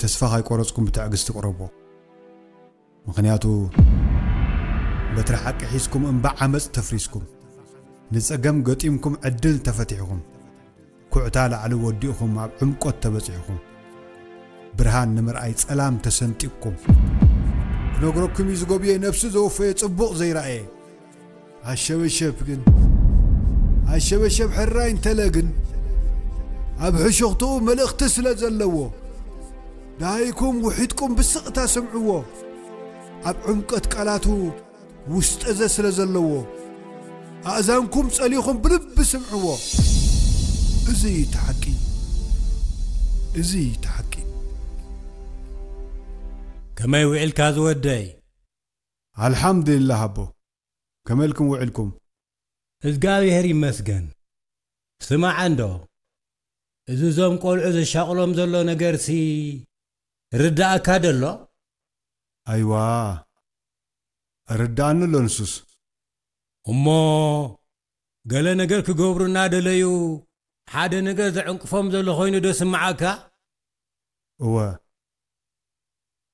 ተስፋ ካይቆረጽኩም ብትዕግስቲ ቅረቦ። ምኽንያቱ በትሪ ሓቂ ሒዝኩም እምባ ዓመጽ ተፍሪስኩም፣ ንጸገም ገጢምኩም ዕድል ተፈቲሕኹም፣ ኩዕታ ላዕሊ ወዲእኹም ኣብ ዕምቆት ተበጺሕኹም፣ ብርሃን ንምርኣይ ጸላም ተሰንጢቕኩም። ክነግረኩም እዩ ዝጎብየ ነፍሲ ዘወፈየ ጽቡቕ ዘይረኣየ። ኣሸበሸብ ግን፣ ኣሸበሸብ ሕራይ እንተለ ግን፣ ኣብ ሕሹኽትኡ መልእኽቲ ስለ ዘለዎ፣ ደሃይኩም ውሒጥኩም ብስቕታ ስምዕዎ። ኣብ ዕምቀት ቃላቱ ውስጠዘ ስለ ዘለዎ፣ ኣእዛንኩም ጸሊኹም ብልቢ ስምዕዎ። እዚ እዩ እቲ ሓቂ። እዚ እዩ እቲ ሓቂ። ከመይ ውዒልካ ዝወደይ? ኣልሓምዱሊላህ ኣቦ። ከመልኩም ውዒልኩም? እግዚኣብሔር ይመስገን። ስማዕ እንዶ፣ እዚ እዞም ቆልዑ ዘሻቕሎም ዘሎ ነገርሲ ርዳእካ ደሎ? ኣይዋ፣ ርዳእኒ ኣሎ ንሱስ። እሞ ገለ ነገር ክገብሩ እናደለዩ ሓደ ነገር ዘዕንቅፎም ዘሎ ኮይኑ ዶ ስምዓካ? እወ፣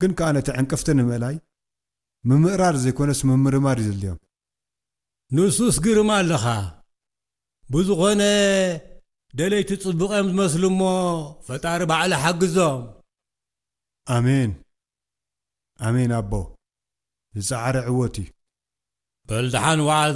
ግን ከኣ ነቲ ዕንቅፍቲ ንምእላይ ምምእራር ዘይኮነስ ምምርማር እዩ ዘድልዮም። ንሱስ ግርም ኣለኻ። ብዝኾነ ደለይቲ ጽቡቕ እዮም ዝመስሉ እሞ ፈጣሪ ባዕሉ ሓግዞም። ኣሜን። ኣሜን ኣቦ። ዝጸዓረ ዕወት እዩ። በል ደሓን ወዓል